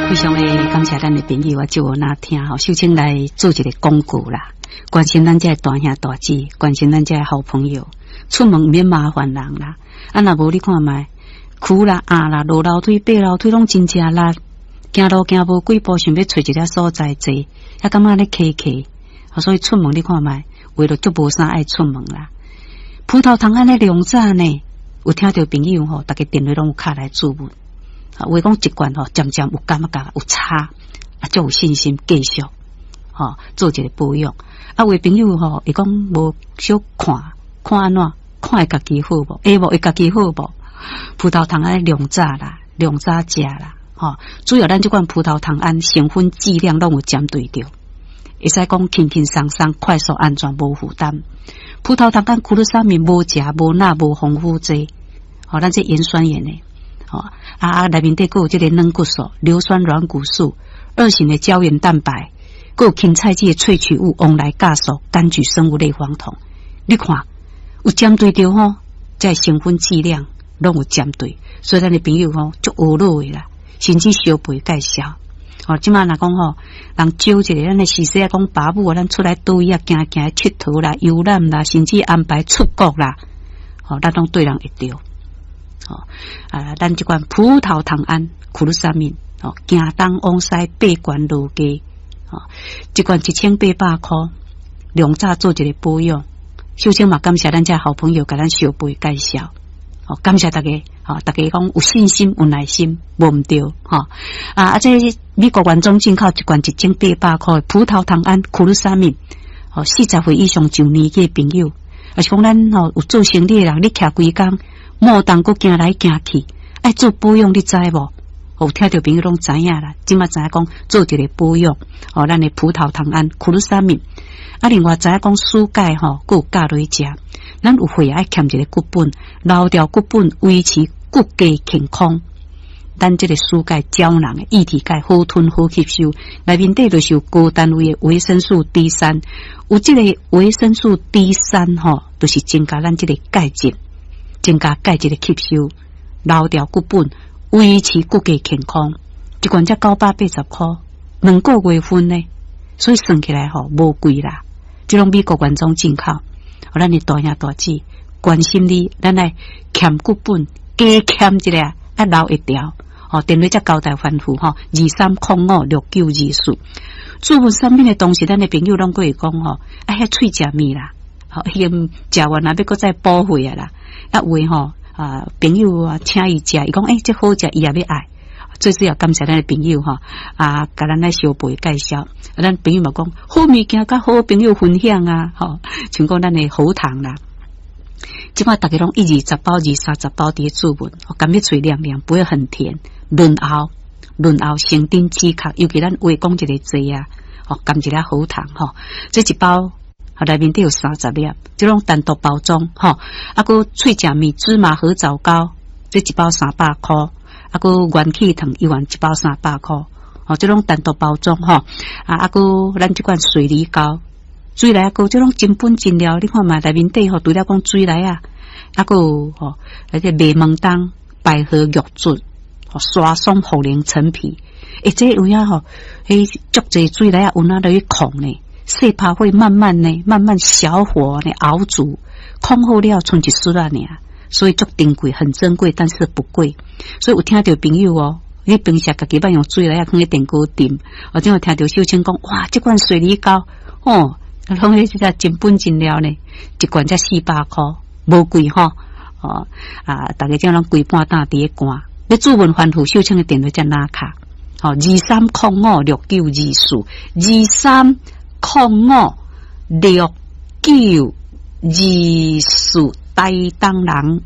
非常的感謝咱的朋友啊，就有那聽吼，秀清來做一個廣告啦，關心咱這大兄大姊，關心咱這好朋友，出門毋免麻煩人啦。啊，若無你看覓，跍啦、壓啦、落樓梯、爬樓梯攏真正力，行路行無幾步，想欲揣一个所在坐，也感覺咧磕磕，所以出門你看覓，為了足無啥愛出門啦。葡萄糖胺咧量早呢，有聽著朋友吼，逐家電話攏有敲來諮問。有的講一罐吼，漸漸有感覺有差，啊，足有信心繼續吼做一個保養。啊，有的朋友吼，會講無小看，看按怎，看會家己好無？會無會家己好無？葡萄糖胺量早啦，量早食啦，吼，主要咱這款葡萄糖胺成分劑量攏有針對著，會使講輕輕鬆鬆、快速、安全、無負擔。葡萄糖胺苦魯沙米無鉀、無鈉、無防腐劑，吼，咱這鹽酸鹽的。吼啊啊！內面底閣有這個軟骨素、硫酸軟骨素、二型的膠原蛋白，閣有芹菜籽的萃取物、黃來酵素、柑橘生物類黃酮。你看有針對著吼，這成分劑量攏有針對，所以咱的朋友吼足懊惱的啦，甚至相陪介紹。吼，這馬若講吼，人招一个，咱的時勢啊，講爸母啊，咱出來佗位啊，行行𨑨迌啦、遊覽啦，甚至安排出國啦，吼，咱攏對人會著。吼啊，咱這款葡萄糖胺、苦魯沙米，吼，行東往西爬懸落低，吼，一罐1800箍，量早做一个保養。首先嘛，感謝咱這好朋友共咱相陪介紹，吼，感謝大家，吼，大家講有信心、有耐心，無毋對，吼啊啊！這美國原裝進口一罐1800箍的葡萄糖胺、苦魯沙米，吼，40歲以上上年紀的朋友，抑是講咱吼有做生意的人，你徛規工。莫當閣行來行去，愛做保養，你知無？有聽著朋友攏知影啦。這馬知影講做一个保養，吼，咱的葡萄糖胺、苦魯沙米。啊，另外知影講舒鈣吼，閣有教落去食。咱有血愛欠一个骨本，留掉骨本，維持骨骼健康。咱這个舒鈣膠囊的液體鈣好吞好吸收，內面底就是有高單位的維生素 D 三，有這个維生素 D 三吼，就是增加咱這个鈣質。增加鈣質的吸收，留掉骨本，維持骨骼健康。一罐才980箍，2個月份呢，所以算起來吼無貴啦。這攏美國原裝進口，咱的大兄大姊關心你，咱來欠骨本，加欠一下，愛留一條。吼，電話才交代吩咐吼，23056924。注文產品的同時，咱的朋友攏會講吼，啊，遐喙食物啦，吼，已經食完啦，欲閣再補貨啊啦。啊，有的吼啊，朋友啊，請伊食，伊講欸，這好食，伊也欲愛。最主要感謝咱的朋友吼，啊，共咱來相陪介紹。啊，咱朋友嘛講，好物件佮好朋友分享啊，吼，像講咱的喉糖啦。這馬逐家攏一二十包、二三十包佇咧注文，含欲喙涼涼，不會很甜，潤喉潤喉，成頂止咳，尤其咱話講一个濟啊，吼，含一粒喉糖吼，這一包。內面底有30粒，這種單獨包裝，吼，啊，閣喙食物芝麻核棗糕，這一包300箍，啊，閣元氣糖一碗一包三百箍，吼，這種單獨包裝，吼，啊啊，閣咱這款水梨膏，水梨仔膏，這種真本真料，你看覓內面底吼，除了講水梨仔，啊，閣有吼，那個麥門冬、百合玉竹、沙松、茯苓、陳皮，欸，這有影吼，彼足濟水梨仔有哪落去控呢？細拍火慢慢呢，慢慢小火呢熬煮，控好了，賰一絲仔爾，所以足珍貴，很珍貴，但是不貴。所以有聽著朋友哦，你平時家己捌用水梨仔囥佇電鍋炖，或者有聽著秀清講，哇，這罐水梨膏，哦，攏彼這個真本真料呢，一罐才400箍，無貴吼，哦啊，逐家這攏規半晝佇咧寒，欲注文吩咐秀清的電話才拿卡，吼，23056924，23056924，台東人。